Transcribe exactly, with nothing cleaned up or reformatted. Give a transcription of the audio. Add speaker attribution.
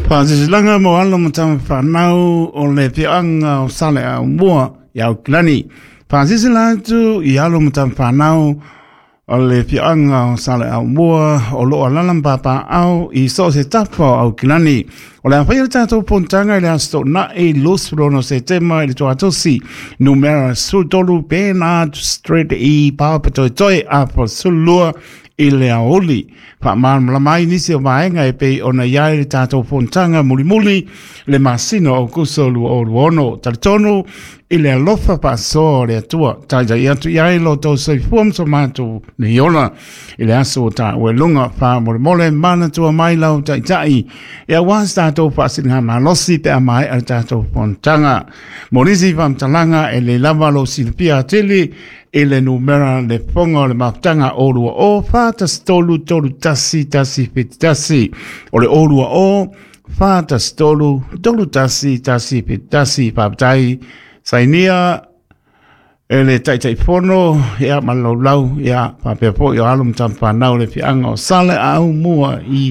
Speaker 1: Faasilasilaga mo alo ma tama fanau o le Afioaga o Saleaaumua i Aukilani. Faasilasila atu i alo ma tama fanau o le Afioaga o Saleaaumua o loo alaala ma papaaao i so o se tafa o Aukilani. O le a faia le tatou fonotaga i le Aso Toonai luasefulu ono Setema i le tuatosi, numera sefulutolu Bernard Street i Papatoetoe, afa sefululua i le aoauli. Faamalamalama ai nisi o vaega e pei ona i ai le tatou fonotaga mulimuli le masina o Aokuso lua o lua ono. Talitonu i le alofa faasoa o le Atua, taitai atu i ai lo outou soifua ma so matou nei ola i le aso o taua i luga. Faamolemole manatua mai lau taitai e aua se tatou faasiligamalosi pe a maea le tatou fonotaga. Mo nisi faamatalaga e le lava lou silafia atili i le numera le fofoga o le mafutaga o lua o fa tasi tolu tolu tasi tasi fitu tasi. O le o lua o fa tasi tolu tolu tasi tasi fitu tasi. Faafetai. Sainia e le Taitaifono ia ma le laulau ia faapea foi o alo ma tama fanau le Afioaga o Saleaaumua i